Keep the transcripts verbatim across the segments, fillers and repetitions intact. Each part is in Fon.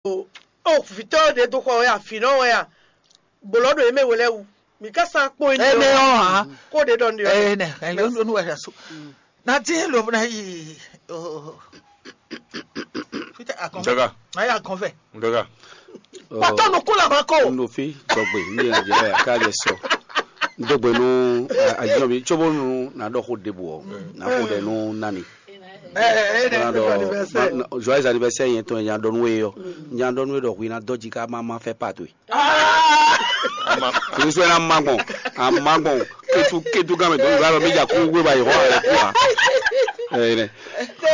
O, o vǐtɔ́ ɖě dó xɔ wɛ a, vǐnɔ wɛ a, gbǒlɔ ɖo yě mɛ we lɛ́ɛ wú. Mǐ ká sán kpó énɛ́ ɔ́ ǎ. Kó ɖě ɖɔ nɖe ɔ́. Ɛnɛ ɛnɛ nu wɛ ɖasu. Na ti lo na yi. Fite akɔn. Daga. Na yi akɔn fɛ. Daga. Pɔtɔ nukun la ma ko. N ɖo fí dɔgbe ní yẹn jẹ ya ká jẹ sɔ. Dɔgbe nú ayɔ mi tso bó nu na ɖɔ xó ɖebu ɔ, na xó ɖe nú nani. Ɛ ɛ ɛ Bana ɛ dɔ joyeux anniversaire. Joyeux anniversaire yẹn tɔn nya dɔn we yɔ. Nya dɔn we dɔ hui na dɔ ji ka ma ma fɛ pa to. Ama. Finisɔ na ma gbɔn, a ma gbɔn. Ketu ketu gan mi dɔn ga lɔ mi ja ku we ba yi hɔ ɛ ku a. Ɛ ne.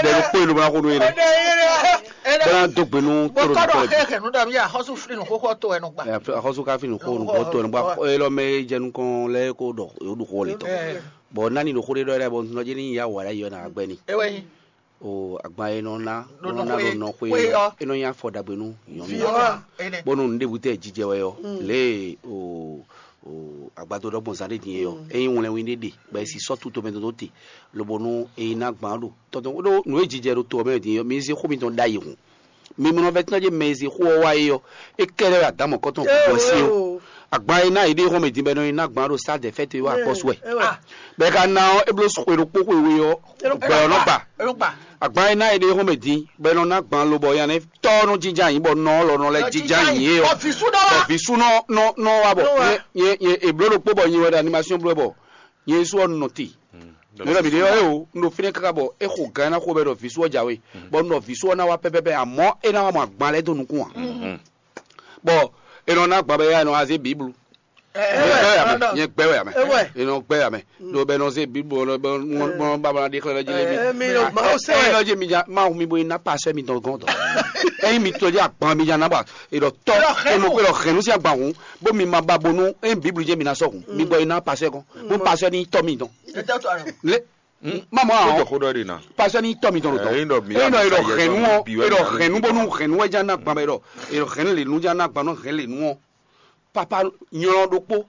Bɛ ko yi lo bana ko do yi ne. Bana do gbenu Bɔ toro kɔdɔ kɔdɔ. Xɛ xɛ nu dɔ mi ya xɔsu fili nu xɔxɔ to ɛnu gba. Xɔsu ka fi nu xɔ nu xɔ to ɛnu gba. Ɛ lɔ mɛ jɛnu kɔn lɛ ko dɔ yo du xɔ le tɔ. Bɔ nani ɖo xó ɖé ɖɔ yɛ bɔ nɔ jɛ ní ya wà ɖ'ayǐ ɔ́ nǎ gbɛ́ ni. Ewɛ nyi. O agban e nɔ ná Ɖo nɔ ná nɔ ɖo xwe- nɔ xwe xwe ɔ́. Ɔ́, e nɔ nyi afɔ ɖagbe nú nyɔ̌nu. Vǐ ɔ́, ene. Bónú nǔɖébú tɛ jijɛ wɛ ɔ́, lě e o o agbadó ɖɔgbɔn zán ɖé din é ɔ́, é nyí wlɛnwin ɖé ɖe bɔ è si sɔ́ tuto mɛ dó te, lobo nú e ná gbǎn ɖo tɔntɔn ɖó nǔ e jijɛ ɖo to ɔ́ mɛ din é ɔ́, mi zé xó mitɔn ɖ'ayǐ hun. Mi mlɔ vɛ́ tɔn jɛ mɛ e zé xó ɔ́ wá é ɔ́, é kɛ́ɖɛ́ wɛ adǎmɔ̌kɔtɔn gɔ́ sí ó. Agban e ná yě ɖe xɔ́mɛ din bɔ è nɔ yi ná gbǎn ɖo sá dɛ̌fɛ́te wá akpɔ́sú wɛ. Bɔ è ka ná ɔ́, é bló xwe ɖokpó xwe we ɔ́, gbɛ ɔ́ nɔ gba. Agban e ná yě ɖe xɔ́mɛ din bɔ è nɔ ná gbǎn lobɔ nya nɛ́ tɔ́ ɔ́ nɔ jínjɔ́n ayǐ bɔ nɔ ɔ́ lɔ nɔ lɛ́ jínjɔ́n ayǐ é ɔ́. Bɔ vǐ sú nɔ wá. Bɔ vǐ sú nɔ nɔ nɔ wá bɔ nyɛ nyɛ è bló ɖokpó bɔ nyi wɛ ɖo animation bló bɔ nyɛ sú ɔ́ nɔ te. Mǐ ɖɔ mǐ ɖe ɔ́ é o, un ɖo fínɛ́ káká bɔ é xo gǎn ná xo bɔ é ɖɔ vǐ sú ɔ́ jǎwe, bɔ un ɖɔ vǐ sú ɔ́ ná wá pɛ́pɛ́pɛ́, amɔ̌ é ná wá mɔ agban lɛ́ɛ dó nukún ǎ. Bɔ è nɔ ná agban bɔ é ná zé Biblu. Ɛ, Nyɛ ɛ, gbɛ wɛ ɛ, amɛ, nyɛ gbɛ wɛ amɛ. Ɛ, wɛ. È nɔ gbɛ amɛ. Ɖo bɛ nɔ zé Biblu ɔ bɛ ŋɔn ŋɔn ba ba ɖe xlɛ lɔ jí lé mi. Ɛ, mi ɖo Mawu se wɛ. Ɛ, lɔ jí mi ja Mawu mi bo ná pasɛ mi dɔn gɔn dɔn. Eyin mi tɔ jí agban mi ja ná ba. È ɖɔ tɔ È ɖɔ hɛn è nɔ nú. È ɖɔ hɛn nú sí agban hun. Bó mi ma ba bonu eyin Biblu jɛ mi ná sɔ hun. Mi gbɔ yi ná pasɛ kɔn. Bó pasɛ ní tɔ mi dɔn. Ɛ tɛ to arɔ. Lé. Má mɔ Ó àwọn. Jɔ xó ɖɔ ɖe ná. Pasɛ ní tɔ mi dɔn Ɛ, dɔn. Eyin ɖɔ mi Eyin ɖɔ ya è ɖɔ mi sa hɛn nú yɛ ɔ. È ɖɔ hɛn nú bonu hɛn nú wɛ ja ná gban bɛ ɖɔ. È ɖɔ hɛn lè nú ja ná gban nɔ hɛn lè nú ɔ. Papa nyɔlɔ ɖokpó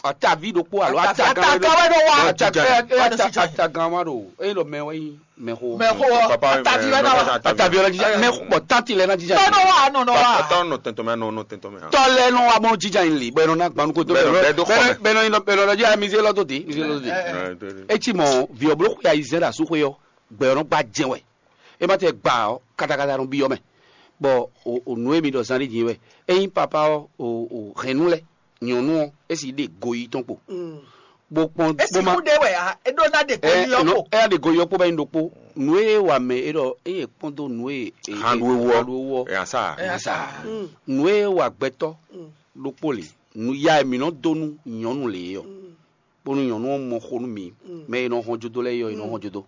atavi ɖokpó alo Atavi- atagan atagan wɛ ɖo wa. Atagan wɛ ɖo wa. Atagan wa ɖo eye ɖɔ mɛ wɛ nyi mɛxo. Mɛxo ɔ. Papa, Atavi wɛ na wa. Atavi wɛ na jija mɛ bɔ tanti lɛ na jija. Nɔ nɔ wa nɔ nɔ wa. Ɔtɔ nɔ tɛntɔn mɛ nɔ nɔ tɛntɔn mɛ. Tɔ lɛ nɔ wa mɔ jija yin li bɔ ɛnɔ na gbanu ko to Bɛ nɔ- bɛ do xɔ mɛ. Bɛ nɔ yin bɛ nɔ jija mize lɔ to te mize lɔ to te. Ɛ, ɛ, ɛ. Eti mɔ vi ɔblo xɔ ya yi zɛ da su xɔ yɔ gbɛ ɔnɔ gba jɛ wɛ. E ma tɛ gba ɔ katakata nɔ bi ɔ mɛ. Bɔ o o nu emi ɖɔ zan ɖe din wɛ. Eyin papa ɔ o o hɛn nu lɛ nyɔnu ɔ esi ɖe go yi tɔn kpo. Bó kpɔn bó ma Esiku ɖe wɛ a, eɖo na ɖe ko ɛ yi ɔkpo. Ɛya ɖe go yi ɔkpo bɛ yin ɖokpo. Nu e wa mɛ e ɖɔ eye kpɔn do nu e e- Hanɖu ewu ɔ. Hanɖu ewu ɔ. Ɛya sa. Ɛya sa. Nu e wa gbɛtɔ ɖokpo le. Nu ya e mi nɔ do nu nyɔnu le ye ɔ. Bónú nyɔnu ɔ́ mɔ xó nú mi, mɛ e nɔ hɔn jodo lɛ́ɛ yɔ e nɔ hɔn jodo.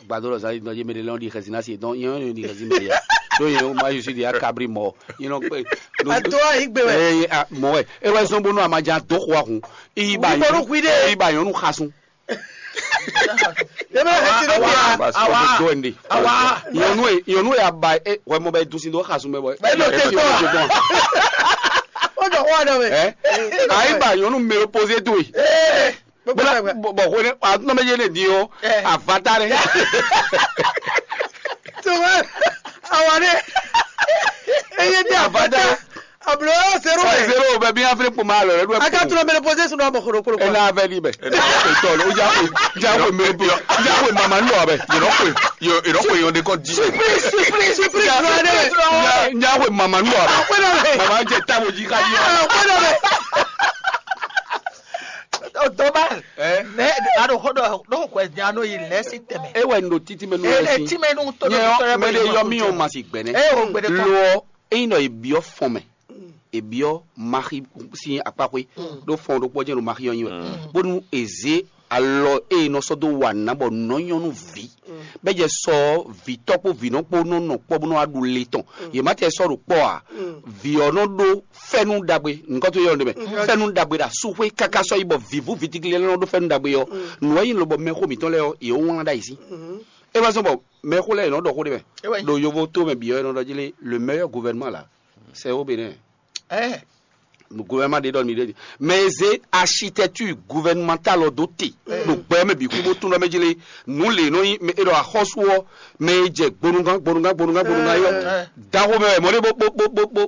Gbadó lɔ zali dɔn yé mɛ ɖe lɛ ɔ́ ɖi xɛsi ná se dɔn yé ɔ́ ɖi xɛsi mɛ ya. Ɖó yé ma yusí ɖi akabri mɔ yé nɔ kpe. Ato ayi gbe wɛ. Eye a mɔ wɛ e wɛ zɔn bónú a ma jɛ adó xó ahun. Iyi ba Wíwọ́nú nyɔnu hwi ɖe. Iyi ba nyɔnu xasun. Yé mɛ xɛsi ɖe bia. Awa. Awa. Nyɔnu e nyɔnu e a ba e wɛ mɔ bɛ dusi do xasun bɛ bɔ. Bɛ do te tɔ. Ó jọ xó wa dɔ mɛ. Ɛ ayi ba nyɔnu mɛ posé to yi. Bɔn bɔn hwene atúnɔ méjì lè di o avata rẹ. Tuma awa ne eye di avata. Ablo zero Ɛ wɛ. Zero bɛ bi afiri kpoma lɔ ɛdu. Aka tún bɛ posé sunu abɔ koro koro. Ena avɛ di bɛ. Etɔ lo ja ko ja ko mɛ po ja ko mama nu abɛ. Yɔrɔ ko yɔrɔ ko yɔrɔ de kɔ di. Surprise surprise surprise. Ja ko mama nu abɛ. Mama jɛ tabo ji ka di. Dɔba ne aɖo xɔ ɖɔ ɖo xɔ nya nɔ yi lɛ si tɛmɛ. E wɛ n ɖo titi mɛ nu E wɛ le si. Ti mɛ nu to Nyɛ ɖo ɔ mɛ ɖe yɔ mi ɔ ma si gbɛnɛ. E o gbɛdɛ kɔ. Lo ɔ eyin nɔ ebiɔ fɔn mɛ ebiɔ maxi si akpaxwe ɖo fɔn ɖokpɔ jɛ ɖo maxi ɔ nyi wɛ bónú eze alɔ eye nɔ sɔ do wa nǎ bɔ nɔ nyɔnu vi bɛ jɛ sɔ vitɔ kpo vinɔ kpo nɔ nɔ kpɔ bónú aɖu le tɔn yě ma tɛ sɔ ɖo kpɔ a vi ɔ nɔ ɖo fɛnu ɖagbe nukɔtɔ yɛ ɔn ɖe mɛ fɛnu ɖagbe ɖa suxwe kaka sɔ yi bɔ vivu vitigli lɛ nɔ ɖo fɛnu ɖagbe yɔ nua yi lobɔ mɛxo mitɔn lɛ yɔ yě wlán ɖa yi sí e wɛ sɔ bɔ mɛxo lɛ yě nɔ ɖɔ xó ɖe mɛ ɖo yovo to mɛ biyɔ yɛ nɔ ɖɔ jí lé le meilleur gouvernement la c'est au Bénin. Gouvernement ɖe ɖɔ mi ɖe, mɛ e zé architecture gouvernementale ɔ dó te ɖo gbɛ mɛ bǐ xwí bó tún ɖɔ mɛ jí lé, nǔ lě nɔ nyí mɛ e ɖɔ axɔ́sú ɔ́, mɛ e jɛ gbonugán gbonugán gbonugán gbonugán yɔ, daxo mɛ wɛ mɔ ɖé bó bó bó bó bó